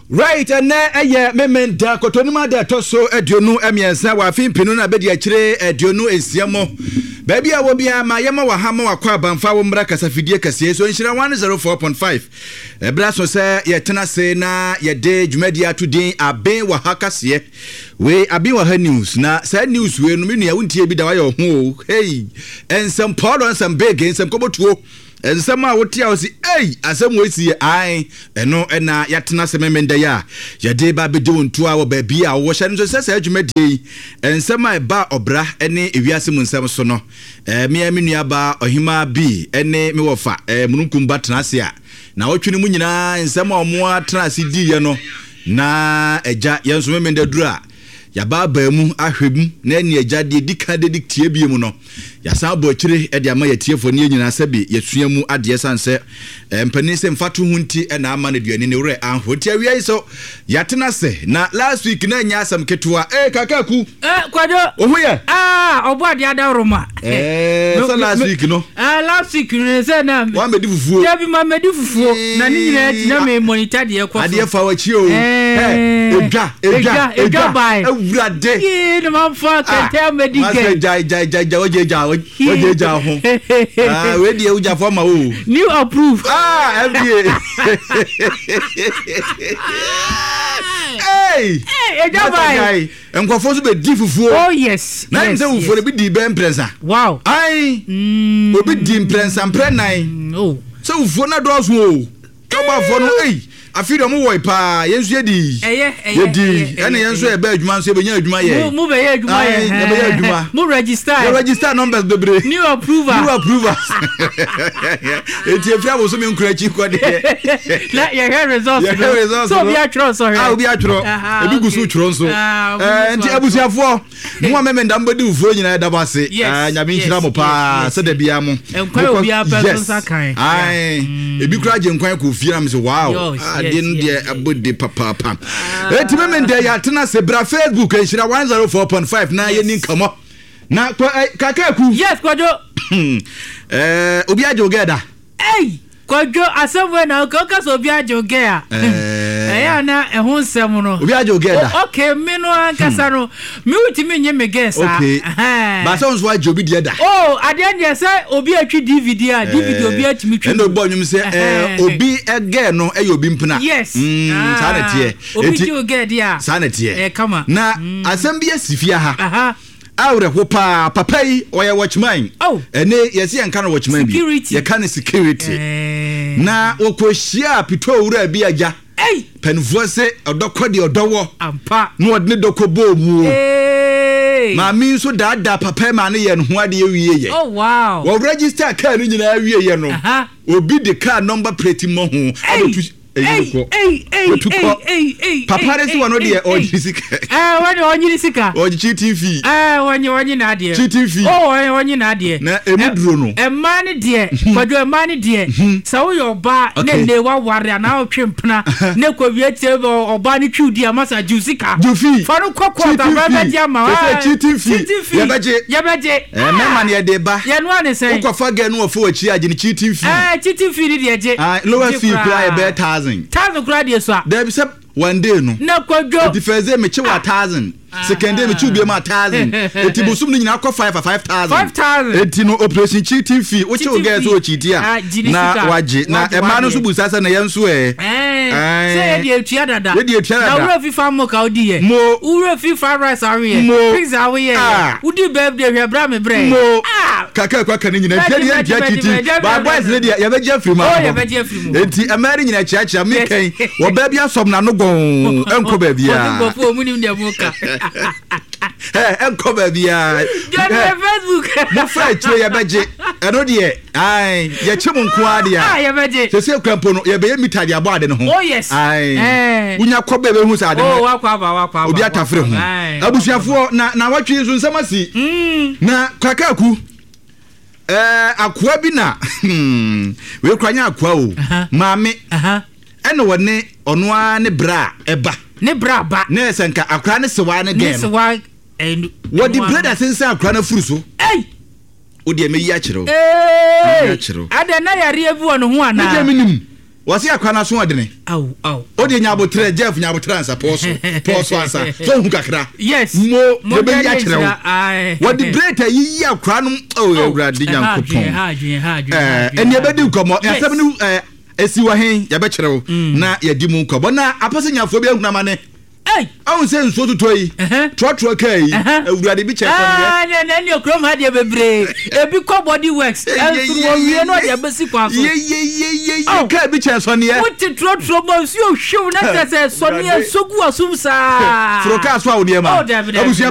Right, ɛnɛ ɛyɛ Memenda Kɔtɔnim ada ɛtɔ so 23 wɔ afe mpenu no abɛdi akyire 26 mu. Baabi a wɔ biara ma yɛma wɔ ha ma wakɔ abanfa wo mmra kasafidie kɛseɛ so nhyira 104.5. Ɛberɛ aso sɛ yɛtena ase na yɛde dwumadie ato din Aben wɔ ha kaseɛ. Wei Aben wɔ ha news na saa news wei no me nua wontie bi da wayɛ ɔho o. Hey, nsɛm pɔɔlɔ nsɛm bege nsɛm kɔbɔtuo. Nsɛm a wote a wosi ei asɛm wei si yɛ ae ɛno na yɛatena ase Memenda yi a yɛde ba abɛdi wo ntoa wɔ baabi a wowɔ hyɛ no nso sɛ saa dwumadie yi nsɛm a ɛba ɔbra ne ewiase mu nsɛm so no me me nuabaa ɔhemaa bi ne me wɔfa mununkum ba tena ase a na wɔtwe no mu nyinaa nsɛm a wɔn atena ase diiɛ no na agya yɛn nso Memenda duru a Yɛabaabaa mu ahwɛ mu na ɛne Agya deɛ ɛdi kan de tie bio mu no, yɛasan abɔ akyire de ama yɛatiefoɔ ne yɛn nyinaa sɛbe yɛsua mu adeɛ ɛsiane sɛ mpanin sɛ mfatoho nti na ama no aduane ne werɛ anho nti awia yi so yɛatena ase na last week na ɛnyɛ asɛm ketewa ee kakaku Eh, Kwadwo. Wo ho yɛ? Ah, ɔbɔ adeɛ adaworoma. Eh, sɛ last week no. Ah, last week no sɛ na. Wa medi fufuo. Dabi ma medi fufuo. Na ne nyinaa akyi na me monitor deɛ ɛkɔ so. Adeɛ fa w'akyi o. Eh, edwa, edwa, edwa bae. Awurade. Yee, na ma fa kɛntɛ amedi gɛ. Masɛ gyae, gyae, gyae, gyae, wagye gya, wagye gya ho. Ah, wei deɛ wogyafo ama wo. New approve. Ah, FDA. Hey! Hey, edwa bae. Nkurɔfoɔ nso bɛdi fufuo. Oh yes. Na yes, sɛ fufuo no yes. bi di bɛyɛ mprɛnsa. Wow. Ae. Mm. Obi di mprɛnsa mprɛ nan. Oh. Sɛ fufuo no dɔɔso o. Tɔbafoɔ no ei afei deɛ ɔmo wɔe paa yɛn nso yɛdi. Ɛyɛ ɛyɛ Yɛdi ɛyɛ ɛna yɛn nso yɛbɛ adwuma nso yɛbɛnya adwuma yɛ. Mo mo bɛyɛ adwuma yɛ. Ae, yɛbɛyɛ adwuma. Mo register. Yɛ register numbers bebree. New approval. New approvers. Eti efiri abosome nkura akyi kɔ deɛ. Na yɛhwɛ results no. Yɛhwɛ results no. So obi atwerɛ nsɔhwɛ. Ah obi atwerɛ. Ebi gu so twerɛ nso. Ah, Nti abusuafoɔ mo a mɛmɛ ndam bɛdi fufuo nyinaa ɛda mo ase. Yes. Ah, Nyame nhyira mo paa sɛ da biara mo. Nkwan obi apɛ so nsa kan. Ae. Ebi kura gye nkwan kɔ fie na me sɛ wow. Adeɛ no deɛ ɛbɔ de papaapa. Eti mɛmɛ ndɛ yɛatena ase bra Facebook nhyira 104.5 na yɛni nkɔmmɔ. Na kakaku. Yes Kwadwo. Eh, obi agye wo gɛ da. Ei! Kwadwo, asɛm wei na woka, woka sɛ obi agye wo gɛ a, ɛyɛ a na ɛho nsɛm no. Obi agye wo gɛ da. Okay, me no ankasa no, me wotumi nye me gɛ saa. Okay. Ba sɛ nso agye obi deɛ da. Oh, adeɛ deɛ sɛ obi atwi DVD a, DVD obi atumi twi. Ɛna obɔ nnwom sɛ ɛɛ obi gɛ no ɛyɛ obi mpena. Yes. Saa na ɛteɛ. Obi gye wo gɛ deɛ a. Saa na ɛteɛ. Ɛyɛ kama. Na asɛm bi asi fie ha. Aha. Awerɛho paa papa yi ɔyɛ watchman. Oh. Ɛne yɛsi yɛn ka no watchman bi. Security. Yɛka no security. Eh. Na wɔkɔ hyia pitɔ owura bi agya. Ei. Panifoɔ se ɔdɔ kɔ deɛ ɔdɔ wɔ. Ampa. Na ɔde ne dɔ kɔ bɔɔ mu o. Hey. Maame nso daadaa papa yi maa no yɛ ne ho adeɛ wie yɛ. Oh wow. Wɔ register kaa no nyinaa wie yɛ no. Aha. Obi de kaa number plate mmɔ ho abɛtu. Eyi kɔ. Wetu kɔ. Papa de si wɔn deɛ ɔgye sika. Ɛɛ wɔn deɛ ɔnye sika. Ɔgye cheating fee. Ɛɛ wɔnye wɔnye n'adeɛ. Cheating fee. Oh wɔnye wɔnye n'adeɛ. Na emu duro no. Mmaa ne deɛ kwadwo mmaa ne deɛ sɛ woyɛ ɔbaa ne ne waware anaa ɔtwe mpena ne kɔ wie tie ɔbaa ne twiw di ama sa gye sika. Gye fee. Fa no kɔ court abɛn bɛgye ama. Sɛ cheating fee. Cheating fee. Yɛbɛgye. Yɛbɛgye. Eh, mɛma no yɛde ba. Yɛn noa ne sɛn? Wokɔfa girl no wɔfo w'akyi agye no cheating fee. Eh, cheating fee ni deɛ gye. Ah, lowest fee koraa yɛ bɛyɛ thousand. Thousand koraa deɛ sua. Dabi sɛ one day no. Na kwadwo. Eti first day mekye wa thousand. Second day mekye obi ma thousand. Eti bosom no nyinaa kɔ five a 5,000. 5,000. Eti no operation cheating fee. Wokye wo girl sɛ ɔcheati a. Na wagye. Na ɛmaa no nso busa sɛ na yɛn nso ɛ. Sɛ yɛ deɛ etua dada. Yɛ deɛ etua dada. Na wura fifa mo ka odi yɛ. Mo. Wura fifa rice awo yɛ. Mo. Pizza awo yɛ. Ah. Wodi birthday hwɛ bra me brɛ. Mo. Ah. Kaka ekwa ka ne nyina. Ntia deɛ ntia kyiti. Ba boys ne deɛ yɛbɛgye afiri mu. Oh yɛbɛgye afiri mu. Enti ɛmɛɛ ne nyina kyiakyia me kɛn. Wɔ baa bi asɔm n'ano gɔn. Ɛnkɔ baabi a. Ɔde nkurɔfoɔ ɔmu nim deɛ mo ka. Ɛ ɛnkɔ baabi a. Jɔn Facebook. Mo fa akyire yɛbɛgye. Ɛno deɛ ae yɛkye mo nko ara deɛ. Ah yɛbɛgye. Sese kura mpo no yɛbɛyɛ mita de abɔ ade no ho. Oh yes. Ae. Eh. Wonya kɔ bɛɛ bɛhu sɛ ade no. Oh wakɔ aba wakɔ aba. Obi atafere ho. Abusuafoɔ na na wɔtwe nso nsɛm asi. Mm. Na kakaaku ɛɛ akoa bi na wei kura nyɛ akoa o. Maame. Ɛna wɔne ɔno ara ne bra ɛba. Ne bra ba. Na ɛsɛ nka akora ne sewa ne gɛn no. Ne sewa ɛnu. Wɔde blade asensan akora no afuru so. Ei. Wo deɛ mɛyi akyerɛ wo. Ee. Mɛyi akyerɛ wo. Adɛn na yareɛ bi wɔ ne ho anaa? Me deɛ menim. Wɔse akora no aso ɔdene. Aw aw. O deɛ nya abotrɛ Jeff nya abotrɛ ansa pɔɔ so pɔɔ so ansa so ohu kakra. Yes. Mo yɛbɛyi akyerɛ wo. Wɔde brate ayiyi akora no oh awurade nyankopɔn. Ɛɛ ɛni ɛbɛdi nkɔmɔ asɛm no ɛɛ esi wɔ he yɛbɛkyerɛ wo na yɛdi mu nkɔmɔ na apɛsɛ nyafoɔ bi ahunu amane. Ahu sɛ nsuo totɔ yi, trɔtrɔ kaa yi, awurade bi kyɛ sɔneɛ. Ɛɛ na ɛne kurom ha deɛ bebree. Ebi kɔ body works, ɛnso wɔwie no ɔde abɛsi kwan so. Yeyeyeye kaa bi kyɛ sɔneɛ. Wote trɔtrɔ mu nsuo hwew na kyerɛ sɛ sɔneɛ sogu asum saa. Foro kaa so a wo nneɛma. Oh, dabi dabi. Abusua.